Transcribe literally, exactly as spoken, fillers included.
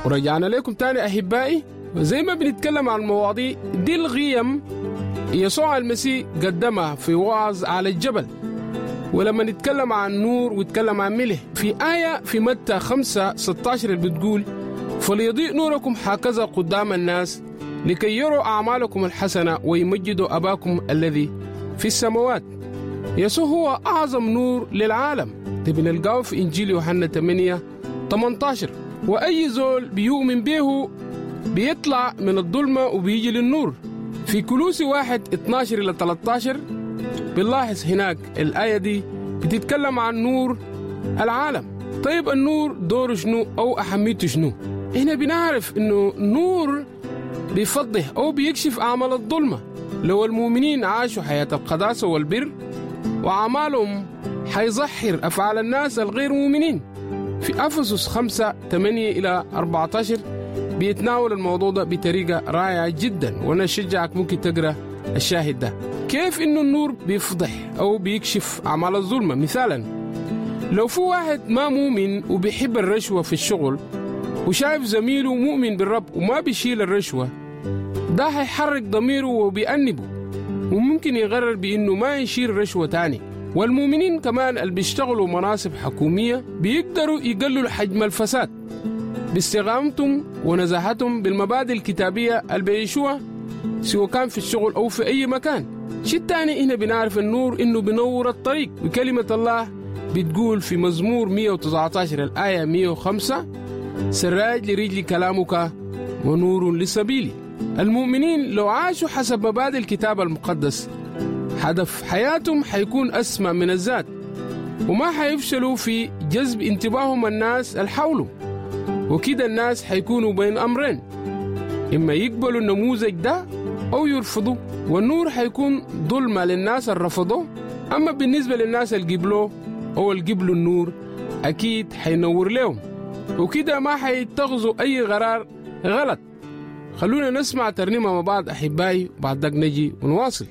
ورجعنا لكم تاني أحبائي، وزي ما بنتكلم عن المواضيع دي القيم يسوع المسيح قدمها في وعظ على الجبل. ولما نتكلم عن نور ويتكلم عن ملح، في آية في متى خمسة ستة عشر اللي بتقول: فليضيء نوركم هكذا قدام الناس لكي يروا أعمالكم الحسنة ويمجدوا أباكم الذي في السماوات. يسوع هو أعظم نور للعالم، ده بنلقاه في إنجيل يوحنا ثمانية ثمانية عشر. وأي زول بيؤمن به بيطلع من الظلمة وبيجي للنور. في كولوسي واحد اثنا عشر إلى ثلاثة عشر بنلاحظ هناك الآية دي بتتكلم عن نور العالم. طيب، النور دوره شنو أو أهميته شنو؟ هنا بنعرف إنه نور بيفضح أو بيكشف أعمال الظلمة. لو المؤمنين عاشوا حياة القداسة والبر وأعمالهم، حيظهر أفعال الناس الغير مؤمنين. في أفسس خمسة ثمانية إلى أربعة عشر بيتناول الموضوع ده بطريقة رائعة جدا، وأنا أشجعك ممكن تقرأ الشاهد ده، كيف إنه النور بيفضح أو بيكشف أعمال الظلمة. مثالا، لو في واحد ما مؤمن وبيحب الرشوة في الشغل وشايف زميله مؤمن بالرب وما بيشيل الرشوة، ده هيحرك ضميره وبيأنبه وممكن يقرر بإنه ما يشيل رشوة تاني. والمؤمنين كمان اللي بيشتغلوا مناصب حكومية بيقدروا يقللوا حجم الفساد باستقامتهم ونزاهتهم بالمبادئ الكتابية اللي بيعيشوها، سواء كان في الشغل أو في أي مكان. شيء الثاني، هنا بنعرف النور إنه بينور الطريق، وكلمة الله بتقول في مزمور مية وتسعة عشر الآية مية وخمسة: سراج لرجلي كلامك ونور لسبيلي. المؤمنين لو عاشوا حسب مبادئ الكتاب المقدس، هدف حياتهم حيكون أسمى من الذات، وما حيفشلوا في جذب انتباههم الناس الحولهم. وكده الناس حيكونوا بين أمرين: إما يقبلوا النموذج ده أو يرفضوا، والنور حيكون ظلمة للناس اللي رفضوه. أما بالنسبة للناس اللي قبلوه أو اللي قبلوا النور، أكيد حينور لهم، وكده ما حيتخذوا أي قرار غلط. خلونا نسمع ترنيمة مع بعض أحبائي، وبعد ذاك نجي ونواصل.